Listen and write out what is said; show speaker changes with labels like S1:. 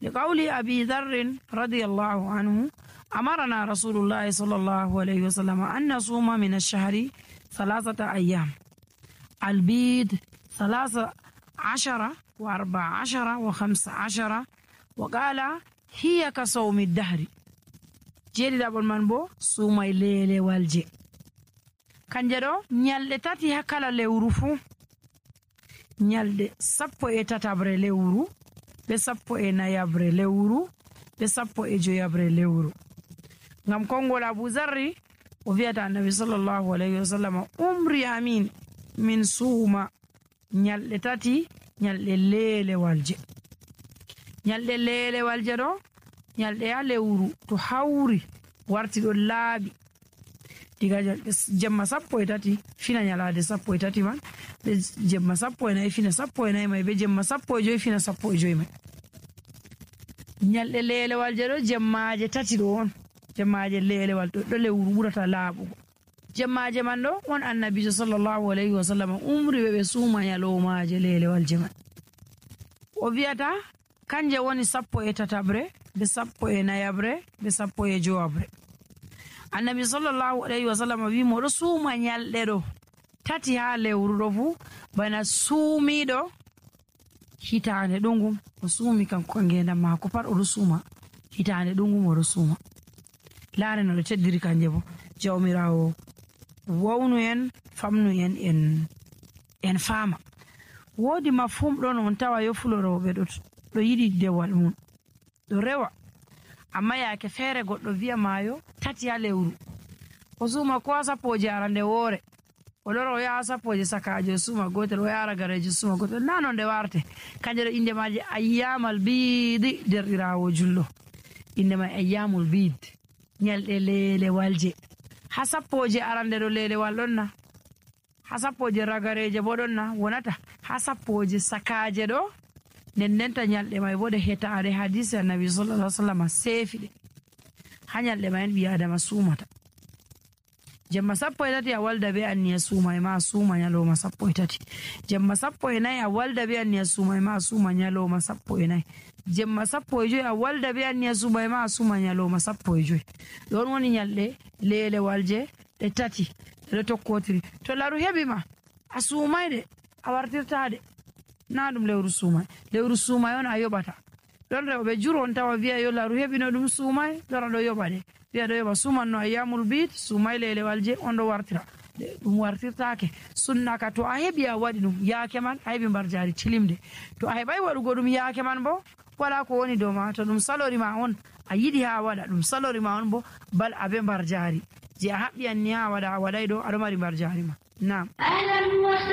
S1: لقول أبي ذر رضي الله عنه أمرنا رسول الله صلى الله عليه وسلم أن نصوم من الشهر 3 أيام البيض 13 و14 و15 وقال هي كصوم الدهر جيدي دابل من بو سومay lele walje kanje ɗo nyalɗe tati ha kala lewru fuu nyalɗe 13 lewru be 14 lewru be 15 lewru ngam kongol Abu Zarri o wi'ata annabi sallallahu alayhi wa sallam umri amin min suuma nyalɗe tati nyalɗe lele walje ɗo nyalɗe ya lewru to hawri warti ɗo laaɓi diga jemma 13 fina nyalade 13 man be jemma 14 fina 14 mai be jemma 15 fina 15 mai nyalɗe lelewalje ɗo jemmaje tati ɗo on jemmaje lelewal ɗo lewru ɓurata laaɓugo jemmaje man ɗo on annabijo sallallahu alayhi wa sallam umri ɓe suuma nyalomaje lelewalje man o wi'ata kanje woni 13 be 14 be 15 annabi sallallahu alayhi wa sallam wi mo ɗo suuma nyalɗe ɗo tati ha lewru ɗo fu bana suumiɗo hitande ɗungum o suumi kanko ngendam mako pat oɗo suuma hitande ɗungum oɗo suuma laare no ɗo teddiri kanje bo jawmirawo wawnu en famnu en faama woodi mafhum ɗon on tawa yofuloroɓe ɗo yiɗi dewal mum ɗo rewa amma yaake feere goɗɗo wi'a maayo tati ha lewru o suuma ko 10 arande woore o lora o yaha 10 sakajo suuma gotel o yara garejo suuma gotel nano nde warte kanje ɗo inde maje ayyamal biidi derɗirawo julɗo inde ma ayyamul biid nyalɗe lelewalje ha 10 arande ɗo lelewal ɗon na ha 10 ragareje bo ɗon na wonata ha 10 sakaje ɗo nendenta nyalɗe may bo ɗe hetaade hadisi annabi sallallahu alaihi wasallam seefiɗe ha nyalɗe may ɓi adama suumata jemma 13 a walda be anniya suuma e ma suuma nyaloma 13 jemma 14 a walda be anniya suuma e ma suuma nyaloma 14 jemma 15 a walda be anniya suuma e ma suuma nyaloma 15 ɗon woni nyalɗe lelewalje ɗe tati ɗe tokkotiri to laru heɓi ma a suumayde a wartirtade na ɗum lewru suumay on a yoɓata ɗon rewɓe juro on tawa wi'a yo laru heɓino ɗum suumay lora ɗo yoɓa de wi'a ɗo yoɓa suumanno ayyamul biid suumay lelewalje on ɗo wartira ɗum wartirtake sunnaka to a heɓi a waɗi ɗum yaake man a heɓi mbar jaari tilimde to a heɓay waɗugo ɗum yaake man bo wala ko woni dow ma to ɗum salori ma on a yiɗi ha waɗa ɗum salori ma on bo bal abe mbar jaari je a haɓɓi anni ha waɗa a waɗay ɗo aɗo mari mbar jaari ma nam